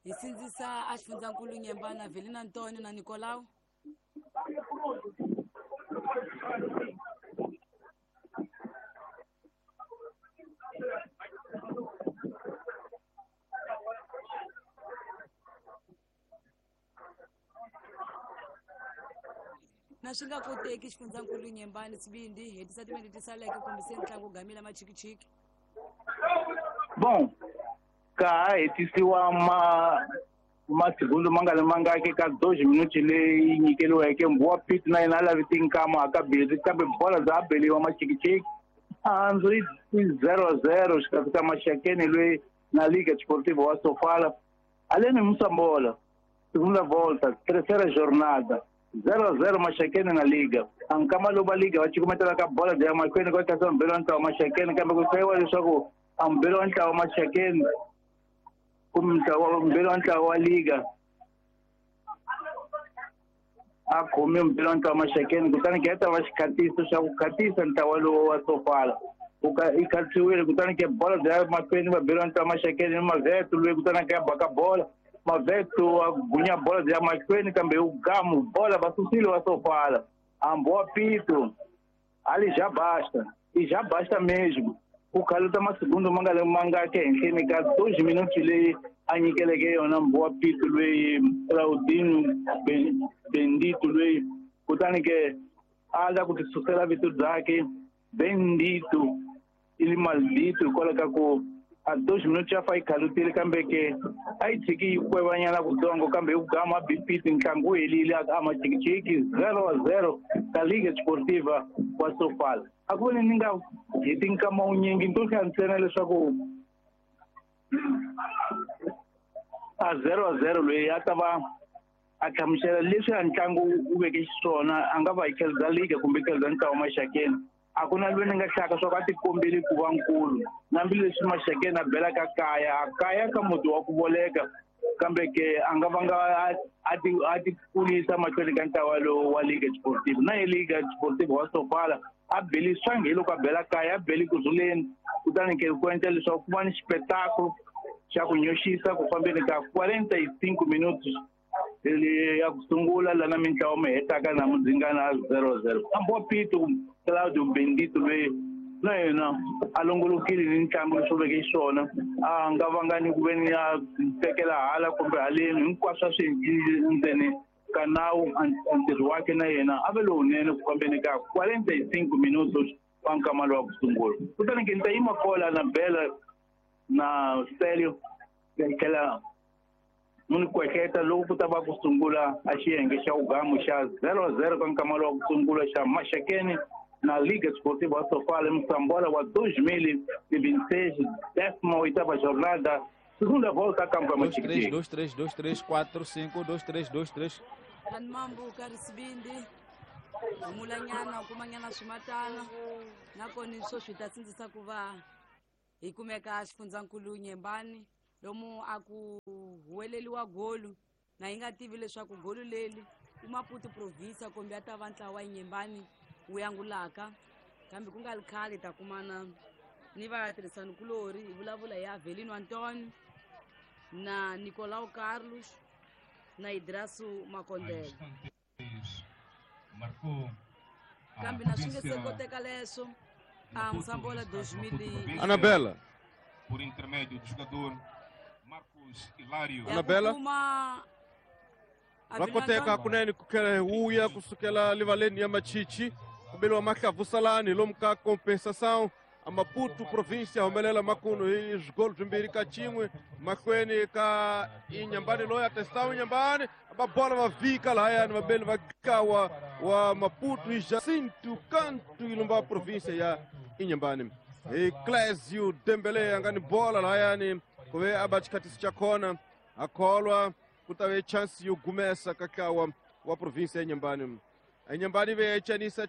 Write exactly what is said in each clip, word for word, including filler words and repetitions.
Hi sindzisa a xifundzankulu Nyembana Avelino Antonio na Nicolau. Na swi nga koteki xifundzankulu Nyembani Sibindi hetisa timinete ti saleke kumbe se ntlangu gamila machikichiki. Bom, ka ha hetisiwa ma masegundu ma nga ri mangaki ka dois minuti leyi nyikeriweke Mbowa Pit na yena a lavi tinkama a ka beli kambe bola bya beliwa machikichiki hanzu i zero zero xikarhi ka Maxakeni loyi na Liga Desportiva wa Sofala aleni Moçambola segunda volta terceira jornada zero zero Maxakeni na Liga. A nkama lowu va Liga va cukumetela ka bola bya mahlweni ka tlhasa mbirhi wa ntlawa Maxakeni kambe ku hlayiwa leswaku a mbirhi wa ntlawa Maxakeni kumbe ntlawa mbirhi wa ntlawa wa Liga a khome mbirhi wa ntlawa Maxakeni kutani ke ta va xikhatiso xa ku khatisa ntlawa lowu wa Sofala i khatisiwile kutani ke bola bya mahlweni va mbirhi wa ntlawa Maxakeni ni Mavetu loyi kutani ke baka bola Mavetu a gunya bola bya mahlweni kambe u gamu bola va susile wa Sofala. A Mbowa Pito ali já basta e já basta mesmo ku khaluta masegundu ma nga ri mangaki ehenhleni ka dois minuti leyi a nyikeleke yona Mbowa Pito loyi Claudino Bendito loyi kutani ke a la ku ti susela vito byakhe Bendito ili maldito hikwalaho ka ku a dois minuti ya fa yi khalutile kambe ke a yi tshiki yi kwevanyana kutsongo kambe hi ku gama bipiti ntlangu wu helile a machikichiki zero wa zero ka Liga Desportiva wa Sofala. A ku veni ni nga heti nkama wunyingi ni to hlaya ntsena leswaku a zero wa zero loyi a ta va a hlamusela leswi a ntlangu wu veke xiswona a nga va hi tlhelo bya Liga kumbe tlhelo bya ntlawa Maxakeni. A ku na loyi ni nga hlaka swa ku a tikombeli ku va nkulu hambileswi Maxakeni a belaka kaya a kaya ka muti wa ku voleka kambe ke a nga vanga a ti a ti kulisa mahlweni ka ntlawa lowu wa Liga Desportiva na ye Liga Desportiva wa Sofala a beli swangi hi loko a bela kaya a beli kurhuleni kutani ke ku endla leswaku ku va ni xipetaku xa ku nyoxisa ku fambeni ka quarenta e cinco minutos ya ku sungula lana mintlawa mi hetaka na mudzingana zero zero. A Mbowa Pito Claudio Bendito loyi na yena a longolokile ni ntlangu leswi veke xiswona a nga vanga ni ku veni a tekela hala kumbe haleni hinkwaswo a swi endlile ndzeni ka nawu ntirho wakhe na yena a ve lowunene ku fambeni ka quarenta e cinco minutos wa nkama lowa ku sungula. Kutani ke ni ta yima kola na Bela na Stelio hi tlhela ni kwehleta loko ku ta va ku sungula a xiyenge xa ugamu xa zero zero ka nkama lowa ku sungula xa Maxakeni na Liga Desportiva Sofala Moçambola wa dois mil e vinte e seis, décima oitava jornada, segunda volta a campo dois três dois dois três quatro cinco dois três dois três. Mambuka Risibindi humulanyana u kumanyana swimatana nakona swo swi ta sindzisa ku va hi kumeka xifundzankulu Nyembani lomu a ku huweleliwa golu na yi nga tivi leswaku golu leri i Maputo province kumbe a ta va ntlawa wa Nyembani wu yangulaka kambe ku nga ri khale ta kumana ni vatirhisanikulorhi hi vulavula hi Avelino Antonio na Nicolau Carlos na Idrasu Makondele. Kambe na swi nge se koteka leswo a Moçambola dois mil e Anabela por intermédio do jogador Marcos Hilário. Anabela va koteka kunene ku tlhela hi vuya kusukela livaleni ya Machichi kubeliwa mahlavusalani lomu ka compensação a Maputo província humelela makuno hi swigolo swimbirhi ka xin'we mahlweni ka Inhambane loyi a testawu Inhambane va bola va vhika lahayani vabeli va kawa wa Maputo hi Jacinto Canto ilumba província ya Inhambane hi Clésio Dembele a nga ni bola lahayani ku ve a ba xikhatisi xa kona a kholwa ku ta ve chance yo gumesa ka ntlawa wa província ya Inhambane. Inhambane ve yi chanisa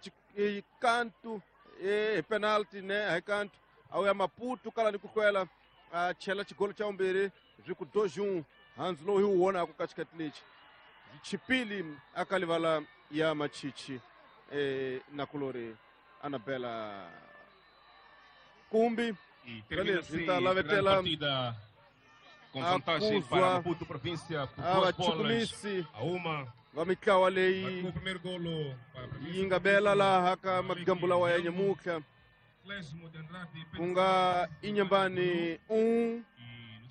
kantu hi penalty ne hi kantu a wu ya Maputo kala ni ku hlwela a chela xigolo xa vumbirhi swi ku dois um handzu lowu hi wu vonaka ka xikati lexi chipili a ka livala ya Machichi eh, nakulori Anabela Kumbi E termina Beleza, assim então, a lá vai ter grande lá- partida Com vantagem para Maputo província por duas bolas a uma. Va mitlawa leyi o primeiro golo para a província. Yi nga bela laha ka magambu lawa ya nyamutlha ku nga Inhambane um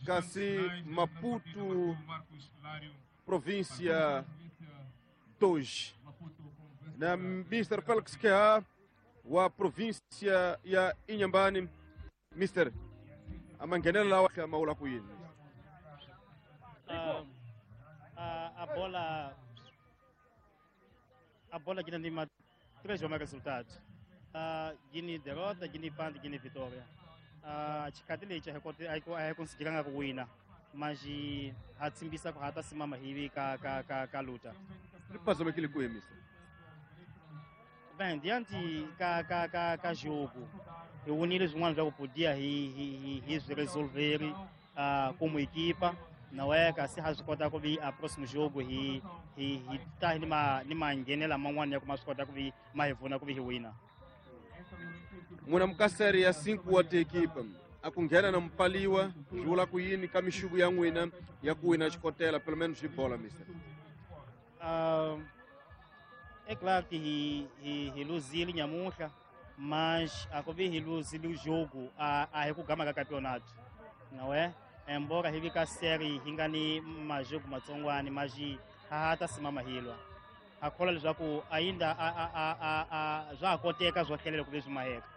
kasi Maputo província dois. Na mister Félix Keha wa província ya Inhambane. Mister a manghenelo lawa ma vula ku yini? Uh, a, a bola a bola que não três bons resultados. Uh, Guiné derrota, Guiné empate, Guiné vitória. Uh, Chikatile a conseguir wina, mas a tsimbisa ko hata simama hivi ka ka ka ka luta. Passa aquele cuia, mister. Bem, diante ka ka ka ka jogo, eu unir os humanos já podia e e resolver uh, como equipa. Não é que se rascota com o próximo jogo e e e tá numa numa ngenela mangwana kuma skota ku mais vona ku wina. Muna mukaseri ya cinco wa equipa a ku nghena na mpaliwa swi vula ku yini ka mixuku ya n'wina ya ku wina xikotela pelo menos hi bola, mister? Uh, é claro que hi hi hi luzile nyamuhla, mas a ku vi hi luzile o jogo a a hi ku gama ka campeonato, não é? Embora hi vi ka série hi nga ni majogo matsongwani mas ha ta simama hilwa. A khola leswaku ainda a a a a swa koteka swo tlhelela ku leswi maheka.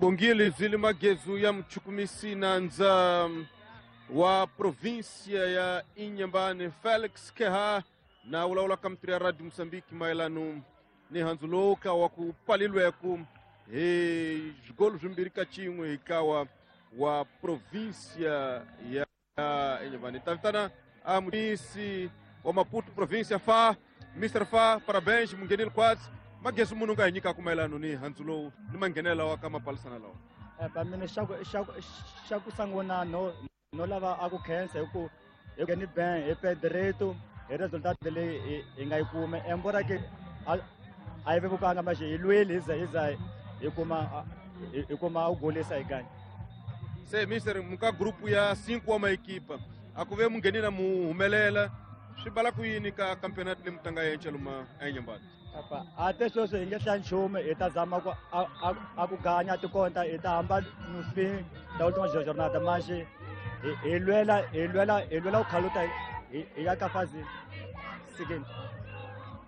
Bongile Zili Magezu ya mchukumisi nandza wa província ya Inhambane Félix Keha na vulavula ka mitiri ya Radio Moçambique mayelano ni handzu lowu ka wa ku palilweku hi swigolo swimbirhi ka xin'we hi kawa wa província ya Inhambane. Ta vitana a mutisi wa Maputo província Fa, mister Fa, parabéns munghenile kwatsi. Magezu munhu nga hi nyikaka mayelano ni handzu lowu ni manghenelo wa ka mapalisana lawa. Pa mina xa ku xa ku xa ku sungula no no lava a ku khensa hi ku hi ku ni ben hi Pedrito hi resultat leyi hi nga yi kuma embora ke a a yi vevukanga mas hi lweli hi za hi za hi kuma hi kuma u golisa hi kanye. Se mister muka grupu ya cinco wa maekipa a ku ve munghenile mu humelela swi bala ku yini ka campeonato leyi mutanga yenca luma eNyambani? Apa ate sweswi hi nge hlaya nchumu hi ta zama ku a a ku ganya tikonta hi ta hamba no fim da última jornada mas hi lwela hi lwela hi lwela ku khaluta hi ya ka fase seguinte.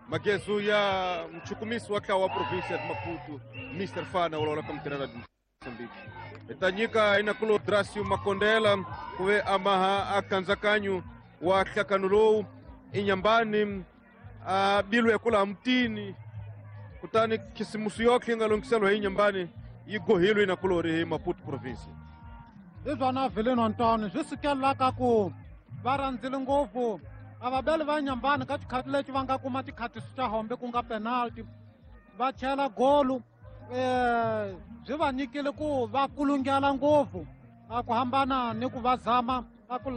Magezu ya mchukumisi wa ntlawa wa província de Maputo mister Fana vulavula ka mutirhela Moçambique. Hi ta nyika inakulo Dracio Makondela ku ve a maha a kandzakanyo wa nhlakano lowu Inhambane a bilwe kula mutini kutani khisimusi yotlhe yi nga lunghiseliwa hi Inhambane yi gohilwe inakulori hi Maputo province. Hi swona Vilino Ntoni swi sukelaka ku va rhandzile ngopfu a vabeli va Inhambane ka xikhati lexi va nga kuma xikhatiso xa hombe ku nga penalty va chela golu eh byi va nyikile ku va kulungela ngopfu a ku hambana ni ku va zama a ku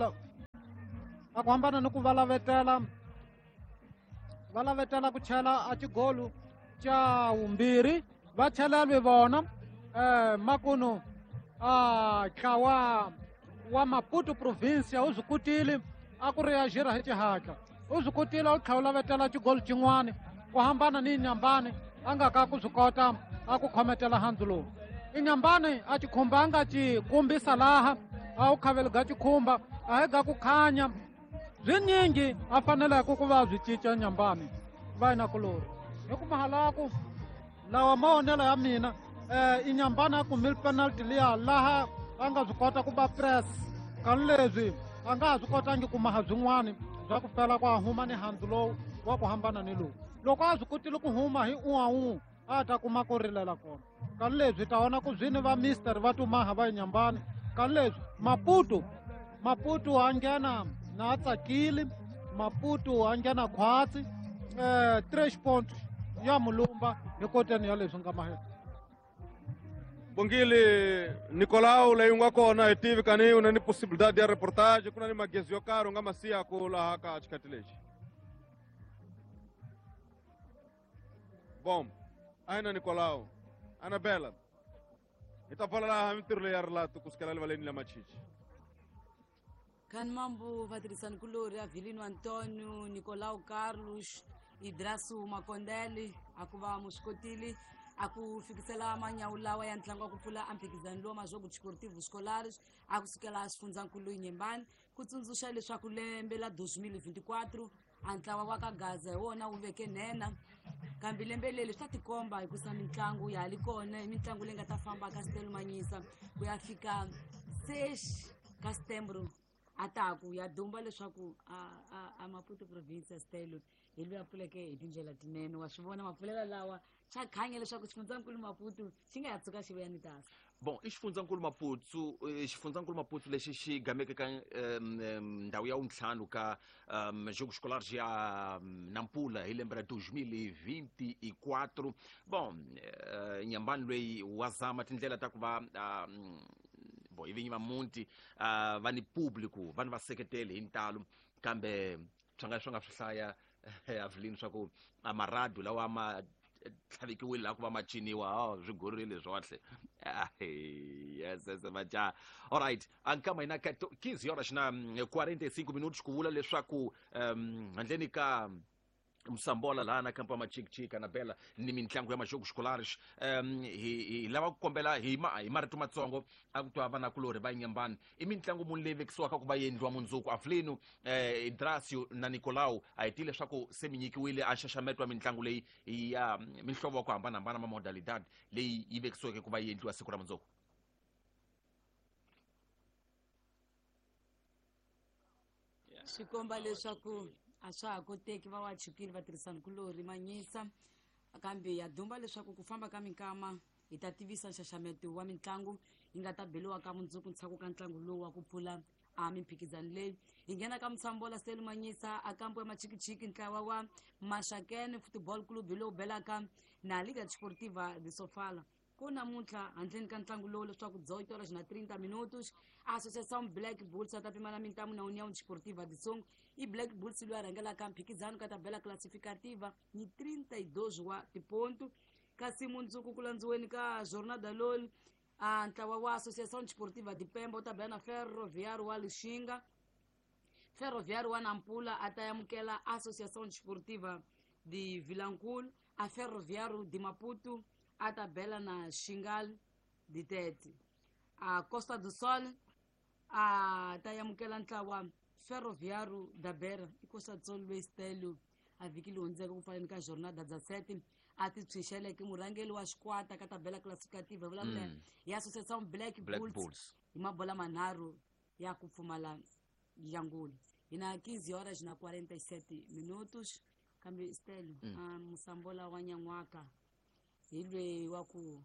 a ku hambana ni ku va lavetela va lavetela ku chela a xigolu xa vumbirhi va chelelwe vona eh makunu a ntlawa wa Maputo província u swi kotile a ku reagir hi xihatla u swi kotile u tlhela u lavetela xigolu xin'wana ku hambana ni Inhambane a nga ka ku swi kota a ku khometela handzu lowu. Inhambane a xikhumba a nga xi kombisa laha a wu khaveli ga xikhumba a hi ga ku khanya swinyingi a faneleke ku va swi cinca Inhambane va inakulori hi ku mahalaku lawa mavonelo ya mina eh Inhambane a kumile penalty liya laha a nga swi kota ku ba press kani leswi a nga ha swi kotangi ku maha byin'wani bya ku fela ku a huma ni handzu lowu wa ku hambana ni lowu loko a swi kotile ku huma hi un'we a ta kuma ku rilela kona kani leswi ta vona ku zwini va mister va tumaha va Inhambane kani leswi Maputo Maputo a nghena na a tsakile Maputo a nghena khwatsi eh três pontos ya mulumba hi koteni ya leswi nga mahela. Bongile Nicolau leyi nga kona hi tivi kani u na ni possibilidade ya reportage ku na ni magezi yo karhi u nga ma siyaku laha ka xikhati lexi. Bom, aina Nicolau, Anabela hi ta pfala laha mintirho leyi ya rilato kusukela rivaleni la Machichi. Khan mambo vatirhisani kulori Avelino Antonio, Nicolau Carlos, Idrasu Makondele a ku va muswikotile a ku fikisela manyawu lawa ya ntlangu wa ku pfula amphikizano lowa Majogos Desportivos Escolares a ku sukela xifundzankulu Inhambane ku tsundzuxa leswaku lembe la dois mil e vinte e quatro a ntlawa wa ka Gaza hi wona wu veke nhenha kambe lembe leri swi ta tikomba hi ku sa mitlangu ya ha li kona i mitlangu leyi nga ta famba ka Stelo Manyisa ku ya fika seis ka Setembro a taku ya dumba leswaku a a a Maputo province Stelo hi loyi a pfuleke hi tindlela tinene wa swi vona mapfulela lawa xa khanya leswaku xifundzankulu Maputo xi nga ha tshuka xi vuya ni tasa. Bon, i xifundzankulu Maputo xifundzankulu Maputo lexi xi gameke ka ndhawu ya wuntlhanu ka Jogos Escolares ya Nampula hi lembe ra dois mil e vinte e quatro. Bon, Inhambane loyi wa zama tindlela ta ku va bo i vinyi va muti va ni público va ni vaseketeli hi ntalo kambe swi nga swi nga swi hlaya Avelino swa ku a maradu lawa ma tlhavekiwile laha ku va ma ciniwa swi gorile swohle. Yes, yes, maja. All right, ankama hina ka quinze horas na quarenta e cinco minutos ku vula leswaku handleni ka Msambola laha na kampa Machikichiki na Bela ni mitlangu ya Majogos Escolares um hi hi lava ku kombela hi ma hi marito matsongo a ku twa vanakulorhi va Inhambane i mitlangu muni leyi vekisiwaka ku va endliwa mundzuku Avelino eh, Idrasio na Nicolau a hi tivi leswaku se mi nyikiwile a nxaxameto wa mitlangu leyi ya mihlovo wa ku hambanahambana ma modalidad leyi yi vekisiweke ku va yi endliwa siku ra mundzuku. Swi komba leswaku a swa ha koteki va wa chukile vatirhisani kulorhi Manyisa kambe ya dumba leswaku ku famba ka minkama hi ta tivisa nxaxameto wa mitlangu yi nga ta beliwa ka mundzuku ntshaku ka ntlangu lowu wa ku pfula a mimphikizano leyi hi nghena ka Msambola Stelo Manyisa a kampo ya Machikichiki ntlawa wa Maxakene Football Club lowu belaka na Liga Desportiva de Sofala ku namuntlha handleni ka ntlangu lowu leswaku dezoito horas na trinta minutos Associação Black Bulls a ta pimana mintamu na União Desportiva de Songo i Black Bulls loyi a rhangelaka mphikizano ka tabela classificativa ni trinta e dois wa tiponto kasi mundzuku ku landziweni ka jornada loli a ntlawa wa Associação Desportiva de Pemba u ta bela na Ferroviário wa Lixinga. Ferroviário wa Nampula a ta amukela Associação Desportiva de Vilankulo a Ferroviário de Maputo a tabela na Xingal de Tete. A Costa do Sol a ta amukela ntlawa Ferroviário da Beira i Costa do Sol loyi Stelo a vhiki leyi hundzeke ku pfaleni ka jornada dezessete a ti tshunxeleke murhangeri wa xikwata ka tabela classificativa vulavula mm. ya Associação Black, Black Bulls, Bulls hi mabola manharhu ya ku pfumala yanguli hi na quinze horas na quarenta e sete minutos kambe Stelo mm. a Msambola wa nyan'waka hi lweyi wa ku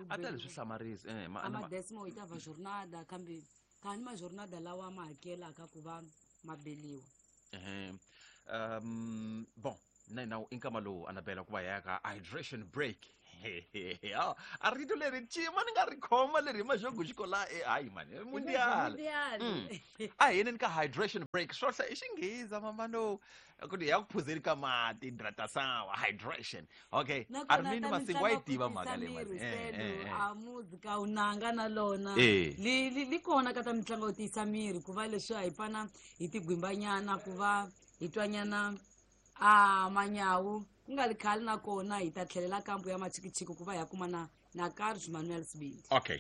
a ta leswi hlamarisa eh ma ama décimo oitava jornada kambe kani ma jornada lawa ma hakelaka ku va mabeliwa eh um bon na na inkama lowu Anabela ku va ya ka hydration break a rito leri cima ni nga ri khoma leri hi Majogos Escolares eh hayi mani mundial a hi yeneni ka hydration break swo hla i xinghiza mamano ku ya ku phuzeni ka mati hidratação hydration okay Armindo Masingo wa yi tiva mhaka leyi mani a muzika unanga na lona li li kona ka ta mitlangu yo tiyisa miri ku va leswi a hi fana hi tigwimbanyana ku va hi twanyana a manyawu ku nga ri khale na kona hi ta tlhelela kambu ya Machikichiki ku va hi ya kuma na na Carlos Manuel Sibindi. Okay.